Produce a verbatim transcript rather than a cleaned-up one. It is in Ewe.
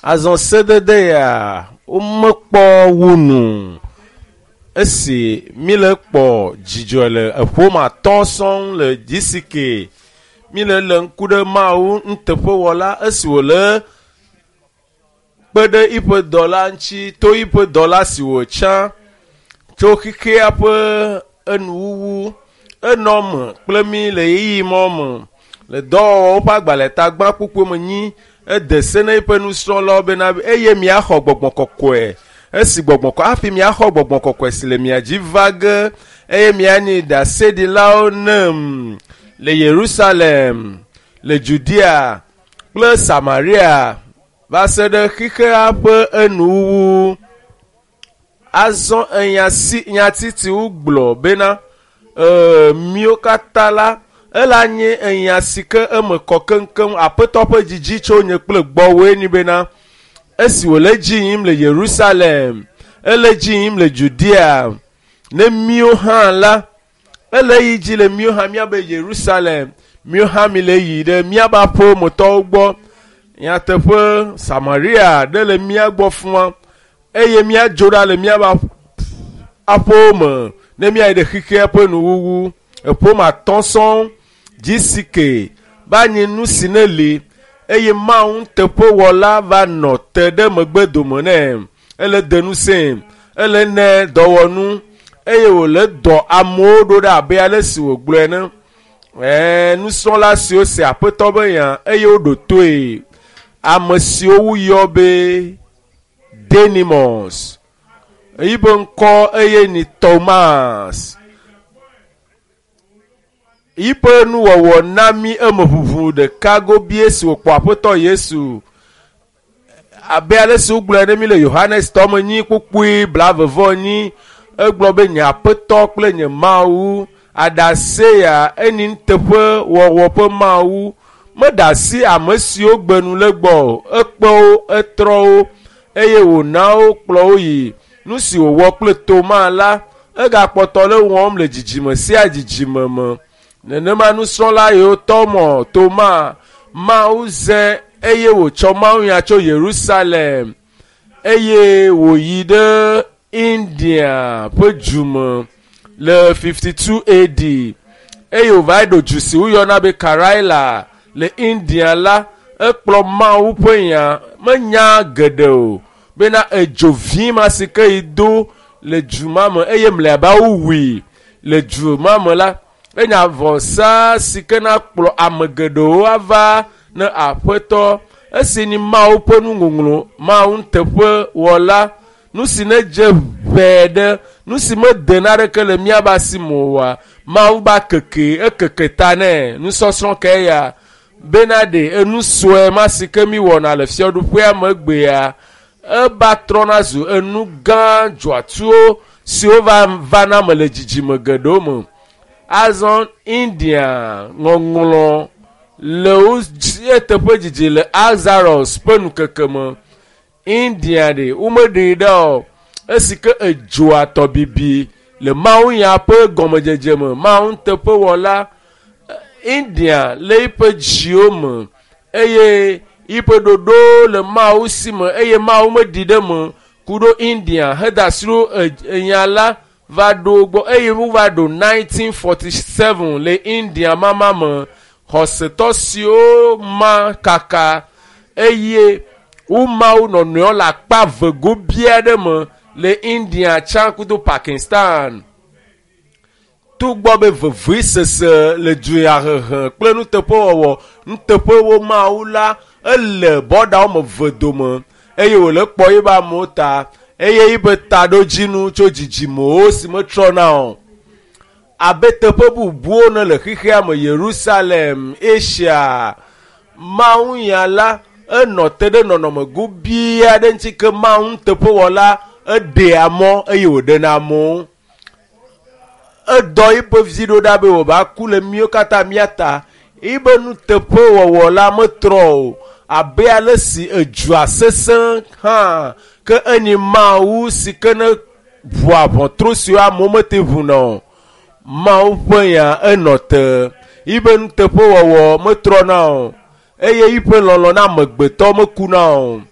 Azɔ sedede ya womekpɔ wu nu esi míle kpɔ dzidzɔ le eƒome atɔ̃ sɔŋ le G C K. Míle le ŋku ɖe Mawu nuteƒewɔla esi wòle kpe ɖe eƒe dɔla ŋuti to eƒe dɔla si wòtsã tso xexea ƒe enuwuwu enɔ me kple mí le ɣeyiɣi ma me le dɔwɔwɔwo ƒe agbalẽ tagbã kpukpui me nyi ede se na eƒe nusrɔ̃lawo bena eye miaxɔ Gbɔgbɔ Kɔkɔe esi gbɔgbɔ kɔ hafi miaxɔ Gbɔgbɔ Kɔkɔe si le mia dzi va ge eye mianyi ɖaseɖilawo nem le Yerusalem, le Judea kple Samaria va se ɖe xexea ƒe enuwuwu. Azɔ enya si nyati si wogblɔ bena ee míwo katã la ela nye enya si ke eme kɔ keŋkeŋ. Aƒetɔ ƒe dzidzi tso nye kple gbɔwoe ni bena esi wòle dzi yim le Yerusalem, ele dzi yim le Judea ne míwo hã la ele yi dzi le míwo hã míabe Yerusalem, míwo hã mi le yi ɖe míabe aƒemetɔwo gbɔ. Nyateƒe Samaria ɖe le mía gbɔ fua eye míadzo ɖa le míabe aƒewo me ne míayi ɖe xexea ƒe nuwuwu. Eƒome atɔ̃ sɔŋ G C K va nyi nu si ne li eye Mawu nuteƒewɔla va nɔ te ɖe megbe dome nɛ. Ele de ŋusẽ, ele nɛ dɔwɔnu eye wòle dɔ amewo ɖo ɖe abe ale si wògblɔe ene. Ɛɛ nusrɔ̃la siwo se Aƒetɔ be nya eye woɖo toe. Ame siwo woyɔ be Denimos yibe ŋkɔ eye ni Thomas. Yiƒe nuwɔwɔ na mí eme ʋuʋu ɖeka gobie si wòkpɔ Aƒetɔ Yesu. Abe ale si wogblɔe ne mí le Yohanes tɔ me nyi kpukpui blaeve nyi egblɔ be nye Aƒetɔ kple nye Mawu aɖase ya eni nuteƒe wɔwɔ ƒe Mawu meɖe asi ame siwo gbe nu le gbɔ o. Ekpe wo, etrɔ wo eye wòna wo kplɔ wo yi. Nu si wòwɔ kple Toma la egakpɔtɔ le wɔm le dzidzime sia dzidzime me. Nenema nusrɔ̃la yiwo tɔ mɔ Toma Mawu zẽ eye wòtsɔ mawunya tso Yerusalem eye wòyi ɖe India ƒe du me le fifty-two A D eye wòva ɖo du si woyɔna be Karaila le India la ekplɔ Mawu ƒe nya menya geɖe o bena edzo vi ma si ke yi do le du ma me eye mlɔeba wowui le du ma me la enya vɔsa si ke na kplɔ ame geɖewo ava ne Aƒetɔ esi ni Mawu ƒe nuŋɔŋlɔ Mawu nuteƒewɔla nu si ne dze ʋɛ ɖe nu si mede naneke le míabe asi me oa Mawu ba keke ekeke ta nɛ nusɔsrɔ̃ ke ya bena ɖe enu sue ma si ke mi wɔna le fiaɖuƒea megbea eba trɔna zu enu gã dzɔatsuwo siwo va vana me le dzidzime geɖewo me. Azɔ India ŋɔŋlɔ le wo dzi eteƒe dzidzi le Alzaros ƒe nukeke me. India ɖe womeɖee ɖa o esi ke edzoa tɔbibi le mawunya ƒe gɔmedzedze me Mawu nuteƒewɔla India le eƒe dziwo me eye yiƒe ɖoɖo le Mawu si me eye Mawu meɖi ɖe me ku ɖo India heda asi ɖo enya la va ɖo gbɔ eye wova ɖo nineteen forty-seven le India mama me xɔsetɔ siwo ma kaka eye woma wo nɔnɔewo le akpa eve gobi aɖe me le India tsã kudo Pakistan. Togbɔ be vevesese le dunyahehe kple nuteƒewɔwɔ nuteƒewo Mawu la ele bɔɖawo me eve dome eye wòle kpɔ yibe amewo ta eye yibe taɖodzinu tso dzidzimewo si metrɔna o. Abe teƒe bubuwo ne le xexea me Yerusalem, Asia, Mawunya la enɔ te ɖe nɔnɔme gobi aɖe ŋuti ke Mawu nuteƒewɔla eɖea mɔ eye wòɖena amewo. Edɔ yiƒe vi ɖo ɖa be wòva ku le míwo katã mía ta. Yibe nuteƒewɔwɔ la metrɔ o abe ale si edzoa sesẽ hã ke enyi Mawu si ke ne ʋua ʋɔtru siwo amewo mete ʋuna o. Mawu ƒe nya enɔ te. Yibe nuteƒewɔwɔ metrɔna o eye yiƒe lɔlɔ̃ na amegbetɔ mekuna o.